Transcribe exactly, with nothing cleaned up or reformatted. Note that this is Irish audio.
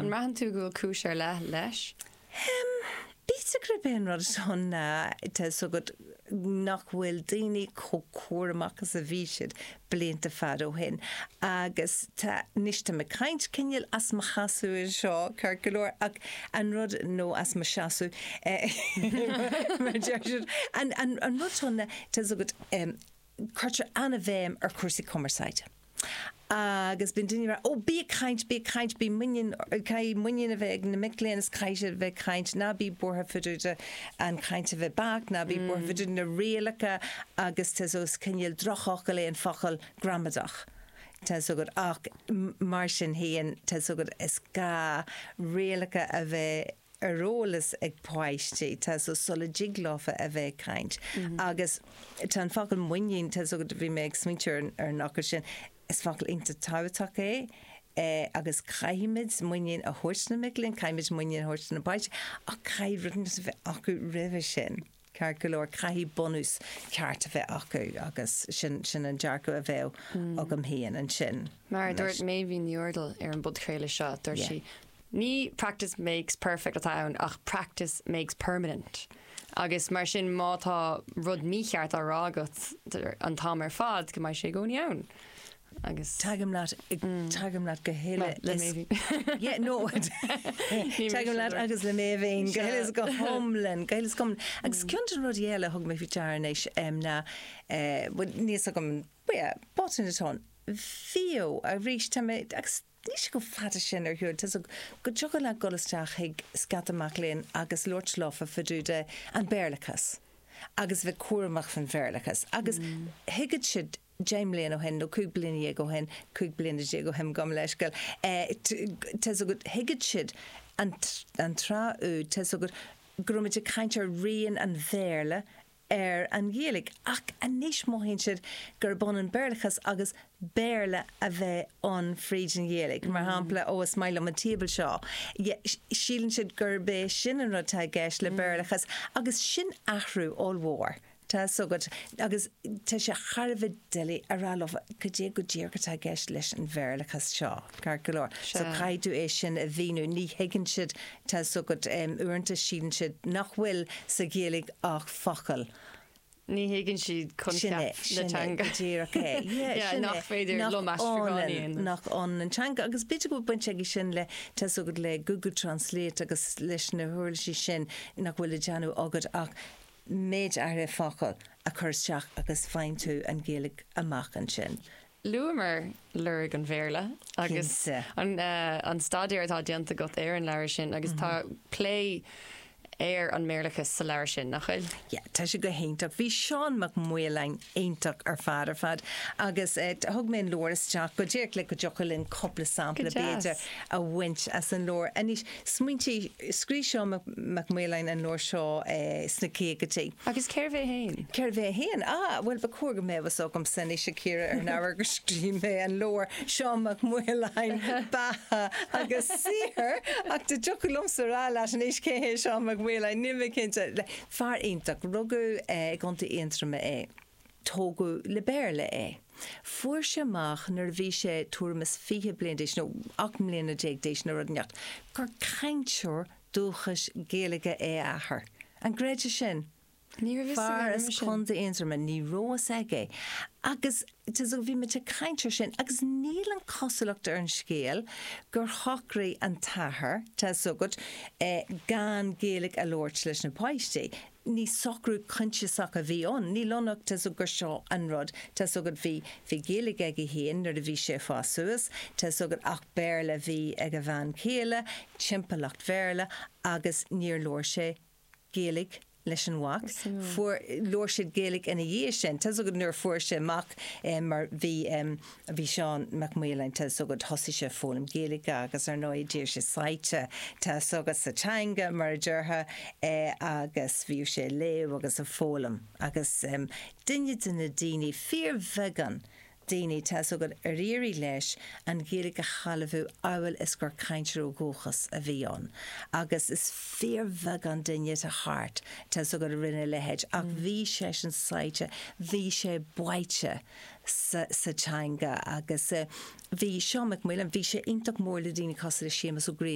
An mbraitheann tú go bhfuil cúis ar leith leis? B'fhéidir gurb é an rud san ná tá fhios agat nach bhfuil daoine chomh cúramach is a bhí siad blianta fada ó shin agus tá anois tá mé ag caint cineál as mo sheasamh anseo ceart go leor ach an rud nó as mo seasamh mar deir siad an an an rud seo ná tá fhios agat cuirtear an-bhéim ar chúrsaí cumarsáide. Agus bíonn daoine ag rá, 'Ó, bí ag caint, bí ag caint, bí muinín, caithfidh muinín a bheith ag na mic léinn is caithfidh siad a bheith ag caint, ná bí buartha fá dtaobh de an chaint a bheith beacht, ná bí buartha fá dtaobh de na rialacha agus tá fhios is cineál drochfhocal é an focal gramadach. Tá fhios agat ach mar sin féin, tá fhios agat is gá rialacha a bheith ar eolas ag páistí, tá fhios sula dtig leofa a bheith ag caint. Agus tá an focal muinín, tá fhios agat, bhí mé ag smaointiú ar ar an fhocal sin, is focal iontach tábhachtach é agus caithfimid muinín a thabhairt na mic léinn, caithfimid muinín a thabhairt na páistí, ach caithfidh rud a bheith acu roimhe sin. Ceart go leor, caithfidh bunús ceart a bheith acu agus sin sin an dearcadh a bheadh agam féin ansin. Mar a dúirt Méibhín Ní Úrdail ar an bpodchraoladh seo, dúirt sí, ní practice makes perfect atá ann ach practice makes permanent. Agus mar sin má tá rud mícheart á rá agat an t-am ar fad go mbeidh sé i gcónaí ann. Agus Tagaim leat tagaim leat go huile le is Méibhín. Yeah, no Tagaim leat agus le Méibhín go huile is go hiomlán, go huile is go hiomlán. Agus ceann de na rudaí eile a thug mé faoi deara anois ná bhuel níl fhios agam yeah, botún atá ann. Bhíodh arís tá mé agus níl sé chomh fada sin ar shiúl, tá go dtiocfadh leat dul isteach chuig scata mac léinn agus labhairt leofa fá dtaobh de an Béarlachas agus bheith cúramach faoin Bhéarlachas agus thuigfeadh siad deich mbliana ó shin nó cúig bliana dhéag ó shin, cúig bliana déag ó shin gabh mo leithscéal, tá fhios agat thuigfeadh siad an an tráth úd tá fhios agat go raibh muid ag caint ar rian an Bhéarla ar an Ghaeilge ach anois mothaíonn siad gurb ionann Béarlachas agus Béarla a bheith ann fríd an Ghaeilge. Mar shampla ó is maith liom an tíobal seo. Síleann siad gurb é sin an rud atá i gceist le Béarlachas agus sin athrú ollmhór. Tá fhios agat agus tá sé thar a bheith doiligh a rá leo cad é go díreach atá i gceist leis an Bhéarlachas seo, ceart go leor. So caithfidh tú é sin a mhíniú, ní thuigeann siad tá fhios agat uaireanta síleann siad nach bhfuil sa Ghaeilge ach focal. Ní thuigeann siad coincheap na teanga. Go díreach é. Yeah, sin é. Nach féidir liom aistriúchán a dhéanamh. Nach ionann an teanga agus b'fhéidir go bhfuil baint aige sin le tá fhios agat le Google Translate agus leis na huirlisí sin nach bhfuil le déanamh agat ach méid áirithe focal a chur isteach agus faigheann tú an Ghaeilge amach ansin. Luamar lorg an Bhéarla agus Cinnte. an, uh, an staidéar atá déanta agat ar an leabhar sin agus tá plé ar an mBéarlachas sa leabhar sin nach bhfuil? Yeah, tá sé go hiontach. Bhí Seán Mac Maoláin iontach ar fad ar fad agus eh, thug mé an leabhar isteach go díreach le go dtiocfadh linn cúpla sampla Go deas. b'fhéidir a bhaint as an leabhar. Anois smaointigh scríobh Seán Mac, Mac Maoláin an leabhar seo eh, sna caogaidí. Agus cérbh é féin? Cérbh é féin? Ah, well ba chóir go mbeadh fhios agamsa anois a Chiara ar an ábhar gur scríobh mé an leabhar Seán Mac Maoláin beatha agus saothar ach dá dtiocfadh liomsa rá leat anois cé hé Seán Mac Maoláin níl mé cinnte le fear iontach rugadh eh, i gContae Aontroma é. Tógadh le Béarla é. Fuair sé amach nuair a bhí sé tuairim is fiche bliain d'aois nó ocht mbliana déag d'aois nó rud inteacht gur cainteoir dúchais Gaeilge é a athair. An gcreidfeá sin? Ní raibh Fear as sin. Contae Aontroma ní raibh fhios aige. Agus so bhí muid ag caint air sin, agus níl an chosúlacht ar an scéal gur shocraigh an t-athair tá fhios agat eh, gan Gaeilge a labhairt leis na páistí. Ní socrú coinsiasach a bhí ann, níl ann ach tá fhios gur seo an rud tá fhios agat bhí bhí Gaeilge aige féin nuair a bhí sé ag fás suas, tá fhios agat ach Béarla bhí ag a bhean chéile, timpeallacht Bhéarla agus níor labhair sé Gaeilge leis an mhac. Fuair labhair siad Gaeilge ina dhiaidh sin, Tá agat nuair fuair sé mac eh, mar bhí um, bhí Seán Mac Maoláin tá agat thosaigh sé foghlaim Gaeilge agus ar ndóigh d'éirigh sé sáite tá agat sa teanga mar a déarfá eh, agus bhí sé léamh agus ag foghlaim agus um, duine de na daoine fíorbheagán daoine tá agat ar éirigh leis an Ghaeilge a shealbhú amhail is gur cainteoir ó dhúchas a bhí ann. Agus is fíorbheagán duine atá thart tá agat a rinne a leithéid ach bhí sé sin sáite, bhí sé báite sa, sa teanga agus uh, bhí Seán Mac Maoláin, bhí sé iontach mór le daoine cosúil le Séamus Ó Grianna.